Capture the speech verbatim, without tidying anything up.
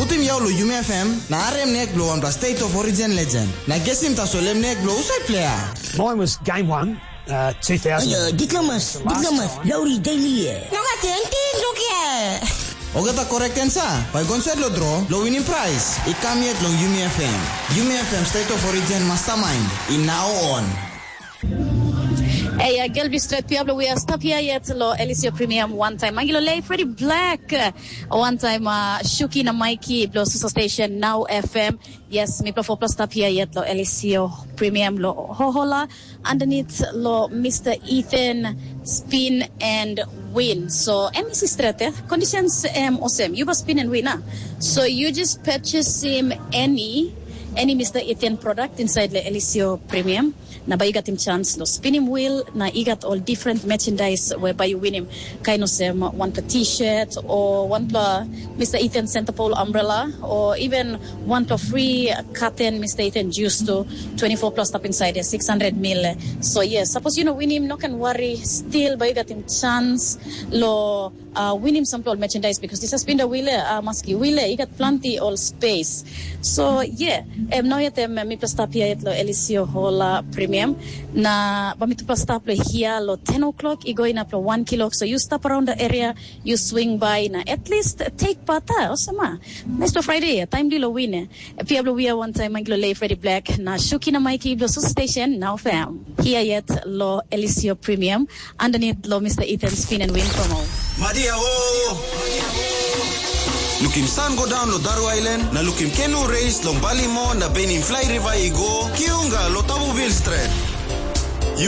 Putim yau long Yumi F M, na harim nek bilong wanpela State of Origin legend. Na gesim tasol em nek bilong husat pleiya? Mine was game one, uh, two thousand. Ayo, diplomas, diplomas, Lauri Daily. Nogat tingting, look here. Olgeta correct answer, bai go insait long draw, long winning prize. I kam yet long Yumi F M. Yumi F M State of Origin Mastermind, i now on. Hey, uh, Gelbi Stret Piablo, we are stop here yet lo Elisio Premium one time. Mangilo Lei, Freddy Black, uh, one time, uh, Shuki na Mikey, Blo Suso Station, Now F M. Yes, mi pla four plus stop here yet lo Elisio Premium lo Hohola, underneath lo Mister Ethan Spin and Win. So, M E C Stret, eh? Conditions, um, awesome. You must spin and win, ah. So, you just purchase him any, any Mister Ethan product inside the Elisio Premium. Na bai yu gatim chance lo spinim wheel, na i gat ol different merchandise we bai yu winim, kain olsem wanpela t-shirt o wanpela Mister Ethan Centerpole umbrella, o even wanpela free carton Mister Ethan juice tu, twenty-four plus stap inside ya, six hundred mil. So yes, sapos yu no winim, no ken wari, still bai yu gatim chance lo uh, winim sampela ol merchandise, because this has been the wheel, uh, maski wheel, i gat planti ol space. So yeah, em nau yet em mipela stap here yet lo Elisio Hola Premium. Na ba mitupela stap lo here lo ten o'clock, i go inap lo one kilok. So you stop around the area, you swing by na at least take part, ah, awesome, ah. Nice to Friday, time di lo win. Pia blo wia one time, Manglo Lei, Freddy Black, na Shuki na Mikey blo Susu Station, Now Fam. Here yet lo Elisio Premium, underneath lo Mister Ethan Spin and Win promo. Madia o! Lukim san go daun lo Daru Island, na lukim kenu reis long Balimo na benim fly river i go, kiunga lo Tabu Bill Stret.